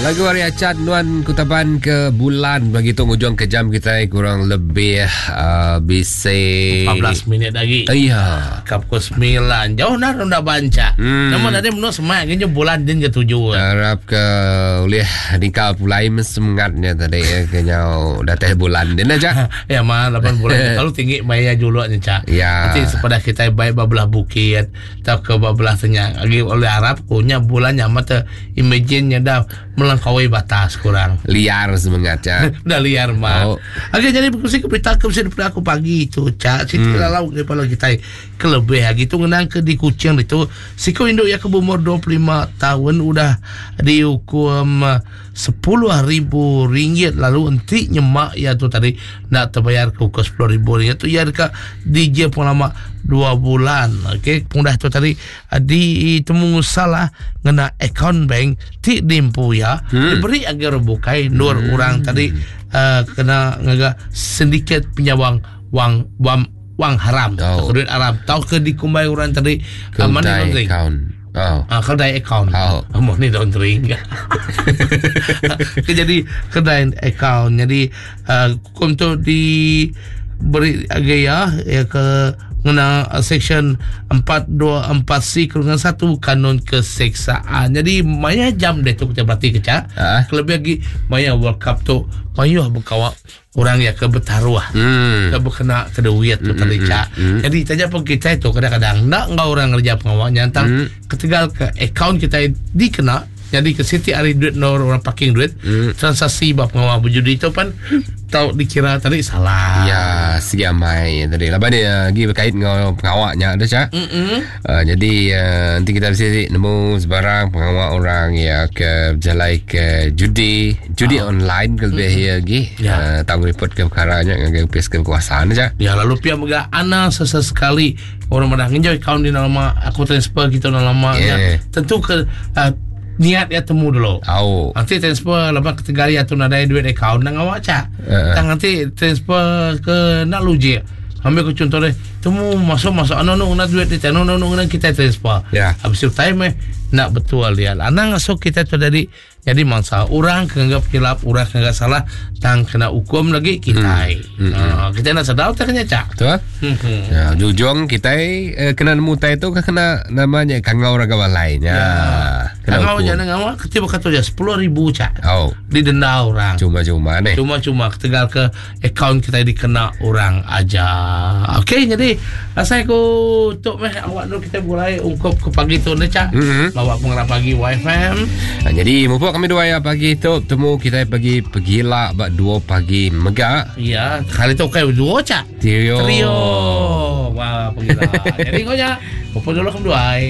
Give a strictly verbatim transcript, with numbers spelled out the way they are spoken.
Lagu hari acat nuan kutaban ke bulan bagi tu ngujung ke jam kita kurang lebih uh, bisa empat belas minit lagi. Iya. Kap pukul sembilan. Jauh dah dah banca. Hmm. Namun ada menurut semak kena bulan din ke tujuh. Harap ke oleh nikah pulai semangatnya tadi ya kena datang bulan din aja. Ya mah lapan bulan kalau tinggi maya juluknya cak. Ya. Nanti sepada kita baik babelah bukit atau ke babelah senyang. Lagi oleh Arab punya bulan nyaman te imagine-nya dah melangkaui batas kurang. Liar semangatnya. Udah liar mah. Oh. Okey, jadi berkongsi ke berita ke mesti daripada aku pagi itu cak. Siti Hmm. lalau daripada kita kelebih lagi tu ngenang ke di Kuching itu. Siku induk yang ke berumur dua puluh lima tahun udah dihukum sepuluh ribu ringgit lalu enti nyemak ya tu tadi nak terbayar ke hukum sepuluh ribu ringgit tu ya dekat D J penglama dua bulan. Okey, pengudah tu tadi ditemu salah ngena akaun bank ti dimpu ya. Hmm. Diberi agar bukai nur Hmm. orang tadi uh, kena ngaga sindiket penyawang wang wang wang haram. Oh. Duit haram. Tau ke dikumbai orang tadi, uh, money Kedai laundering. account. Oh. Ah, kedai account. Oh. Money laundering. Ke jadi kedai account. Jadi uh, hukum tu diberi agak ya, ya ke ngena section empat dua empat C kurungan satu kanun keseksaan. Jadi maya jam dia tu kita berarti kecak. Ah. Kelebih lagi maya World Cup tu maya berkawak orang yang ke bertaruh. Hmm. Ke berkena ke duit tu Hmm, tadi hmm, cak. hmm. Jadi tanya pun kita itu kadang-kadang nak ngau orang kerja pengawaknya tentang Hmm. ketegal ke akaun kita dikena. Jadi ke siti hari duit nor orang parking duit Hmm. transaksi bab pengawal berjudi itu pun tau dikira tadi salah. Ya, segi amai tadi. Lepas dia lagi berkait dengan pengawaknya ada cak. Mm-mm. Uh, jadi uh, nanti kita mesti nemu sebarang pengawak orang ya ke berjalan ke judi, judi Ah. online ke lebih mm-hmm. lagi. Ya. Uh, tahu report ke perkaranya dengan pihak kekuasaan cak. Ya lalu pihak mega ana sesekali orang mana ngenjoy kaun di nama aku transfer kita dalam lama Yeah. Tentu ke uh, niat ya temu dulu. Au. Nanti transfer lepas ketiga hari atau nadai duit akaun nak awak cak. Uh-uh. Tang nanti transfer ke nak luji. Ambil ke contoh deh. Temu masuk masuk anu anu nak duit dia anu anu anu kita transfer. Ya. Habis itu time eh nak betul dia. Anang masuk kita tu jadi jadi mangsa. Orang kenggap kilap, orang kenggap salah, tang kena hukum lagi kita. Hmm. Hmm. Hmm. Uh, kita nak sedar tak kena cak. Betul? Hmm. hmm. Ya, jujung kita eh, kena nemu tai tu ke kena namanya kangau raga balai nya. Ya. Kena Kangau hukum. jangan ngawak ketiba kata je sepuluh ribu cak. Oh, Didenda orang. cuma-cuma ni. Cuma-cuma ketegal ke akaun kita dikena orang aja. Okey, jadi rasanya aku tok meh awak nu kita mulai ungkup ke pagi tu ni cak. Mhm. Bawa pengarah pagi Y F M. Ha, jadi mupuk kami dua ya pagi tu temu kita pagi pegila bak dua pagi megak. Ya, kali tu okey dua cak. Trio. Trio. Wah, pegila. Jadi kau nya, pupuk dulu kami dua. Bye.